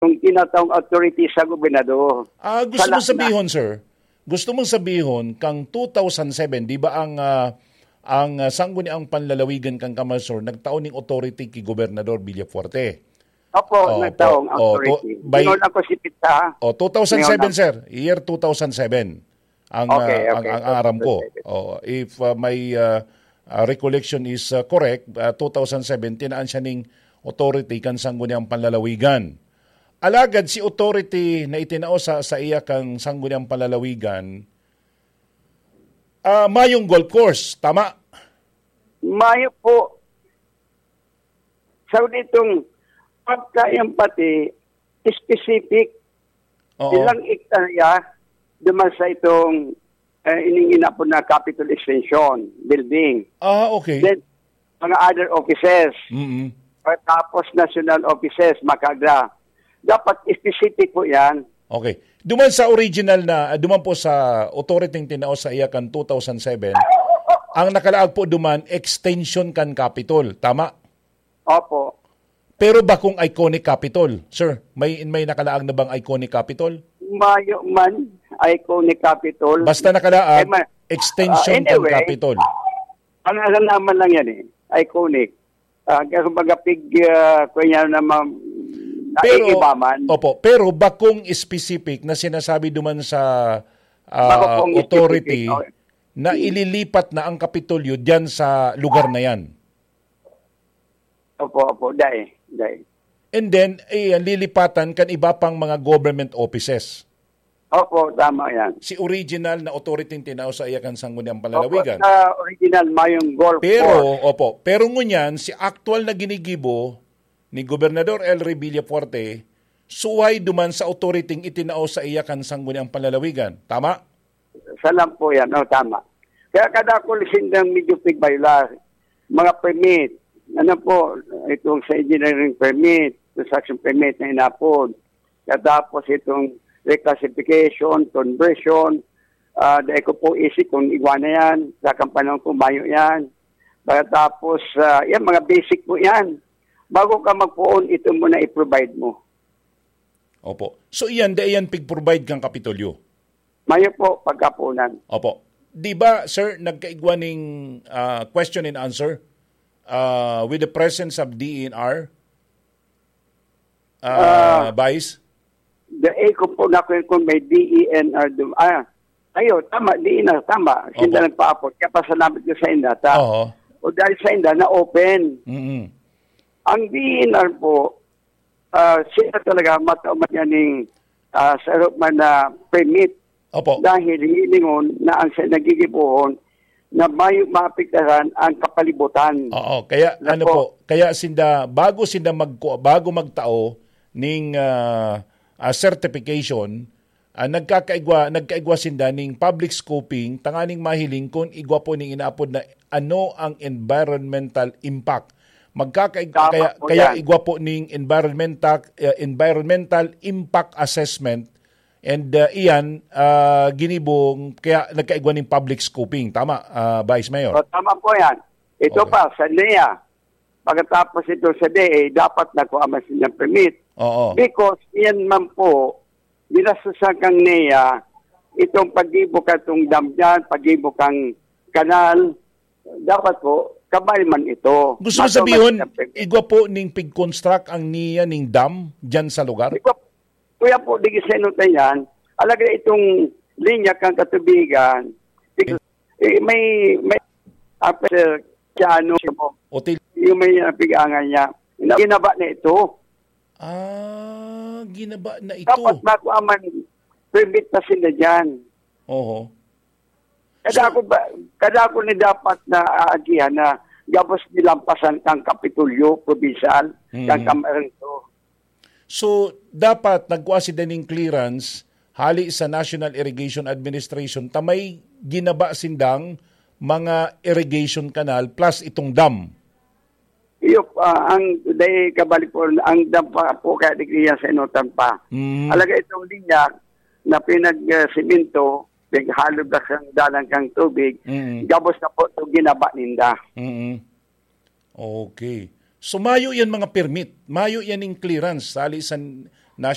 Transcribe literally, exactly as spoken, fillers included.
yung tinatawag authority sa gobernador. Ah, gusto Sa mong la- sabihon, sir? Gusto mong sabihon, kang two thousand seven, di ba ang, ah, ang, ah, Sangguniang Panlalawigan kan Camarines Sur nagtao ning authority ki Gobernador Villafuerte? Opo, Oh, nagtaong po. Oh, to- authority. by- Tingnan ako si Pizza. Oh, two thousand seven, Tingnan ako. sir. Year two thousand seven. Ang, Okay, ah, ang, okay. ang aram ko. Two thousand seven. Oh, if, ah, my, ah, ah, recollection is, ah, correct, ah, two thousand seven, tinaan siya ning authority kan Sangguniang Panlalawigan. Alagad si authority na itinao sa, sa iya kan Sangguniang Panlalawigan, ah, mayong golf course, tama? Mayo po. Sa ditong pagka yung pati specific Oo. ilang ektarya duman sa itong, eh, ining inapod na Capitol Extension Building. Ah, okay. Then, mga other offices. Mm-mm. Tapos national offices, makagra. Dapat specific po yan. Okay. Duman sa original na, ah, duman po sa authority tinao sa iya kan two thousand seven, ang nakalaag po duman, extension kan Capitol. Tama? Opo. Pero bakong iconic Capitol, sir? May, may nakalaag na bang iconic Capitol? Mayo man, iconic Capitol. Basta nakalaag, Eh, ma- extension ah, kan anyway, Capitol. Ang alam naman lang yan eh, iconic. Ah, kaya kumbaga pig, ah, kaya naman, Pero, naiiba man. Opo, pero bakong specific na sinasabi duman sa, ah, Bakong authority specific, oh. na ililipat na ang Kapitolyo diyan sa lugar na yan? Opo, opo, dai, dai. And then, eh, ang lilipatan kan iba pang mga government offices. Opo, tama yan. Si original na authority tinao sa iya kan Sangguniang Opo, Panlalawigan. Sa original, mayong golf Pero, course. Opo, pero ngunyan, si aktual na ginigibo ni Gobernador El Rey Villafuerte, suway duman sa authority itinao sa iya kan Sangguniang Panlalawigan. Tama? Salam po yan. Oh, tama. Kaya kadakol sindang medyo pigbayla, mga permit. Ano po, itong sa engineering permit, construction permit na inapod. Katapos itong reclassification, conversion, ah, dahil ko po isip kung igwa na yan, sa kampanaw ko, mayo yan. Pagkatapos, ah, yan, mga basic po yan. Bago ka magpoon, ito muna i-provide mo. Opo. So iyan, dai iyan pig-provide kang Kapitolyo? Mayo po, pagkapunan. Opo. Di ba, sir, nagkaigwa ning, ah, question and answer, ah, with the presence of D E N R, ah, Ah, Vice? The A ko po na kung, kung may D E N R dum-, ah, ayo, tama, D E N R, tama. Sinda Opo. nagpaapot. Kaya pasalamat ko sa inda, ta. Oo. O dahil sa inda, na-open. Mm-mm. Ang D E N R po, ah, sila talaga matao man yan ning, ah, sa man na permit. Opo. Dahil hilingon na ang sa nagigibohon na mayo maapektaran ang kapalibutan. Oo, kaya Nako. ano po, kaya sinda, bago sinda magku-, bago magtao ning, ah, ah, certification, ah, nagkakaigwa, nagkaigwa sinda ning public scoping, tanganing mahiling kun igwa po ning inaapod na ano ang environmental impact. Magkakaig-, Tama kaya, po kaya yan. igwa po ning environmental, eh, environmental impact assessment. And, uh, iyan, uh, ginibong, kaya nagkaigwa ning public scoping. Tama, uh, Vice Mayor? O, tama po yan. Ito Okay. pa, sa N E A, pagkatapos ito sa D E A, dapat nakuha man silang permit. Oo. Because yan man po, ginastusan kang N E A, itong paggibo ka itong dam dyan, paggibo kang kanal, dapat po, kamay man ito. Gusto mo Mato sabihon, man siya pwede. igwa po ning pig-construct ang N E A ning dam dyan sa lugar? Igwa, kuya po, di sa inutan yan, alaga itong linya kang katubigan, eh, may, may, ah, sir, sa ano, Hotel. yung may, ah, pig-angan niya, ina-, ginaba na ito. Ah, ginaba na ito. Dapat makuha man, permit na sila dyan. Oho. Kada So ako ba, kada ako ni dapat na aagihan na gabos nilampasan kang Kapitolyo, probinsal, Mm. kang Kamarito. So, dapat nagkuha si daning clearance hali sa National Irrigation Administration ta may ginaba sindang mga irrigation canal plus itong dam. Iyo, ah, ang dai kabalik po, ang dam pa po kaya di kaya sa inutan pa. Mm. Alaga itong linya na pinag, ah, simento, pinaghalo na kang dalan kang tubig, Mm. gabos na po itong ginaba ninda. Mm. Okay. So, mayo yan mga permit. Mayo yan yung clearance. Sali sa,